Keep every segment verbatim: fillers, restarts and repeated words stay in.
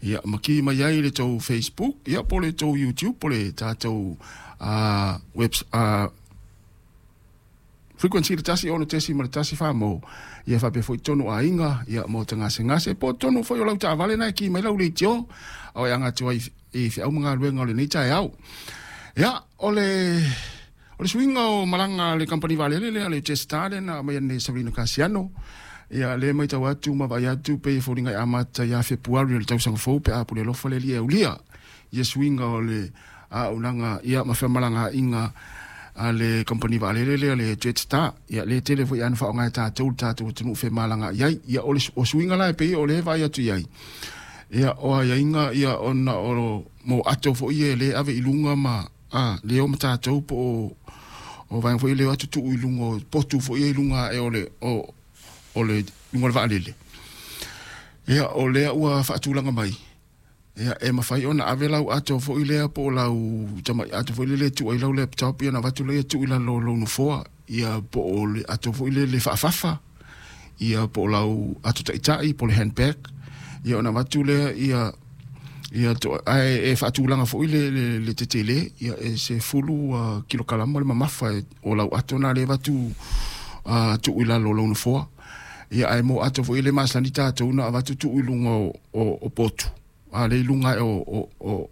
Ia ma ki mai ai le tou Facebook, ia po o le tou YouTube, po o le tatou uh, web, uh, frequency le tasi ono tesi ma le tasi fa mo ia faapea foi tonu aiga ia mo tagasegase po tonu foi o lau taavale na e ki mai lau leitio ao e aga atu ai i feau ma galuega o lenei taeao. Ia o le o le suiga o malaga a le kamupani vaalele lea le Jetstar lea na aumai nei e Saverino Kasiano. Ia le matau atu ma vaai atu pei e foliga e amata ia Fepuari o le tausaga fou pe a pule alofa le Alii e aulia ia suiga o le auaunaga ia ma femalagaaiga a le kamupani vaalele lea le Jetstar. Ia le tele foi ana faaaoga e tatou le tatou atunuu femalagaai ai. Ia o le o suiga la e pei o le vaai atu i ai. Ia o aiaiga ia ona o mo ato foi e le ave i luga ma a le o ma tatou po o o vaega foi le o atu tuu i luga o potu foi e i luga ae o le o o le luga o le vaalele. Ia o lea ua faatulaga mai. Ia e mafai ona ave lau ato foi lea po o lau tamai ato foi lele e tuu ai lau laptop ia ona avatu lea tuu i lalo o lou nofoa ia po o le ato foi lele faafafa ia po o lau ato taitai po o le handbag ia ona avatu lea ia ia to, ae e faatulaga foi le, le, le tetele ia e se fulu uh, kilokalama le mamafa e, o lau ato na le avatu uh, tuu i lalo o lou nofoa. Ia ae mo ato foi le masani tatou na avatu tuu i luga o, o, o potu a le i luga e o, o, o,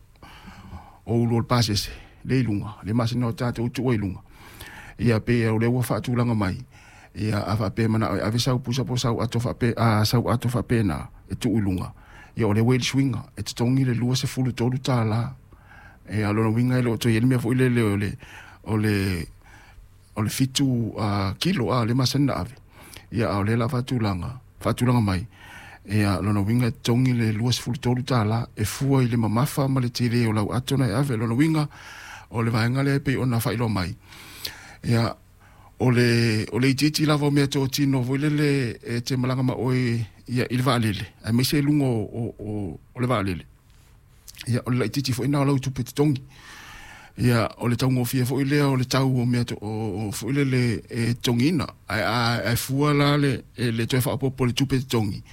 o ulu o le pasese le i luga le masani o tatou tuu ai i luga. Ia pe o lea ua faatulaga mai ia a faapea manao e ave sau pusa po o sau ato faape a sau ato faapena e tuu i luga. Ia o lea ua i le suiga e totogi le lua sefulu tolu tala. Ia lona uiga e le o toe i ai le mea foi lele o le o le o le fitu uh, kilo a le masani na ave. Ia a o lea la faatulaga faatulaga mai. Ia lona uiga e totogi le lua sefulu tolu tala e fua i le mamafa ma le tele o lau ato na e ave. Lona uiga o le vaega lea e pei ona faailoa mai. Ia o le o le itiiti lava o mea totino foi lele e te malaga ma oe ia i le vaalele aemaise i luga o, o, o, o le vaalele. Ia o le laitiiti foi na o lau tupe totogi. Ia o le taugofie foi lea o le tau o mea to, o, o foi lele e totogiina ae ae fua la le e le toe faaopoopo le tupe totogi.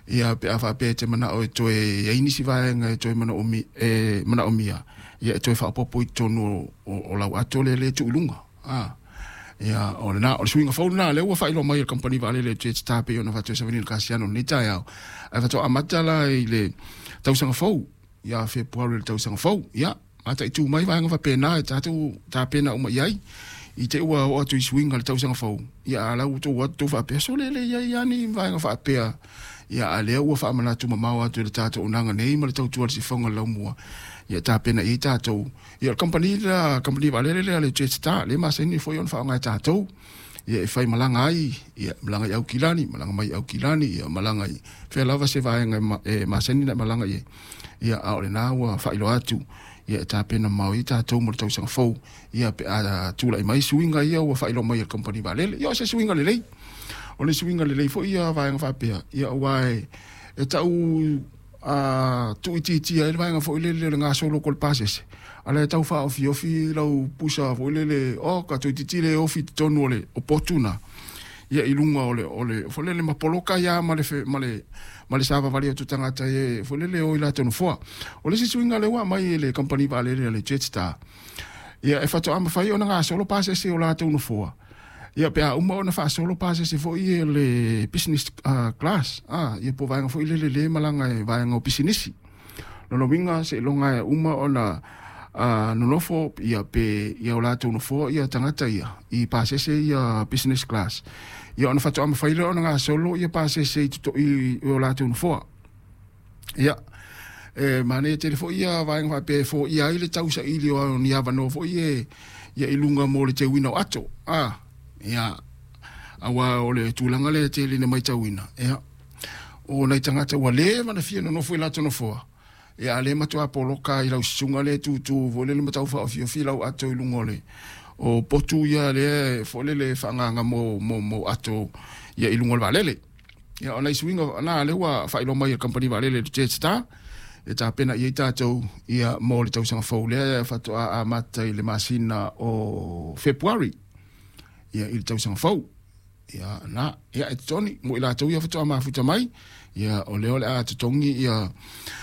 Ia pe a faapea e te manao e toe i ai nisi vaega e toe manaomia e manaomia ia e toe faaopoopo i totonu o, o, o lau ato lea le tuu i luga. Ah. Ia o lena o le suiga fou lena lea ua faailoa mai e le kamupani vaalele e Jetstar pei ona faatoe Saverino Kasiano lenei taeao. Ae faatoa amata la i le tausaga fou ia Fepuari o le tausaga fou. Ia mataitu mai vaega faapena e tatou tapena uma i ai i te ua oo atu i suiga le tausaga fou. Ia a lau tou atu tou faapea so lele i ai lava ni vaega faapea. Ia a lea ua faamanatu mamao atu i le tatou auaunaga nei ma le tautua i le sifoga o le laumua. Ia tapena i ai tatou. Ia o le kamupani la kamupani vaalele lea le Jetstar le masani foi ona faaaoga e tatou. Ia e fai malaga ai, ia malaga i Aukilani, malaga mai i Aukilani, ia malaga i fea lava se vaega e masani na malaga i ai. Ia a o lena ua faailoa atu ia e tapena mamao ai tatou mo le tausaga fou. Ia pe a tulai mai suiga ia ua faailoa mai e le kamupani vaalele. Ia o se suiga lelei. O le suiga lelei foi ia vaega faapea. Ia aua e, e tau a tuuitiitia ai le vaega foi lele o le gasolo ko le pasese. A lea tau faaofiofi lau pusa foi lele o ka toeitiiti le ofi i totonu o le o potu na. Ia i luga o le o le foi lele ma poloka ia ma le ma le ma le savavali atu tagata e foi lele o i latou nofoa. O le isi suiga lea ua aumai e le kamupani vaalele a le Jetstar. Ia e faatoa mafai ona gasolo pasese o latou nofoa. Ia pe a uma ona faasolo pasese foi e le business uh, class. Ah, ia po vaega foi lele le malaga e vaega o pisinisi. Lona uiga seiloga e uma ona uh, nonofo ia pe ia o latou nofoa ia tagata ia i pasese ia business class. Ia ona faatoa mafai lea ona gasolo ia pasese i, toto, i, i o latou nofoa. Ia e manaia tele foi ia vaega faapea e foia ai le tausaili o ni avanoa foi e ia i luga mo le teuina o ato. Ah, ia aua o le tulaga lea e tele ina matauina. Ia o nai tagata ua leva na fia nonofo i latou nofoa. Ia a le matua poloka i lau susuga lea e tutu foi lele ma tau faaofiofi lau ato i luga o le o potu ia lea foi lele faaagaga mo mo mo ato ia i luga o le vaalele. Ia o nai suiga na lea ua faailoa mai e le kamupani vaalele le Jetstar e tapena i ai tatou ia mo le tausaga fou lea e faatoa amata i le masina o Fepuari ia i le tausaga fou. Ia na ia e totogi mo i latou ia faatoa mafuta mai ia o lea o le a totogi ia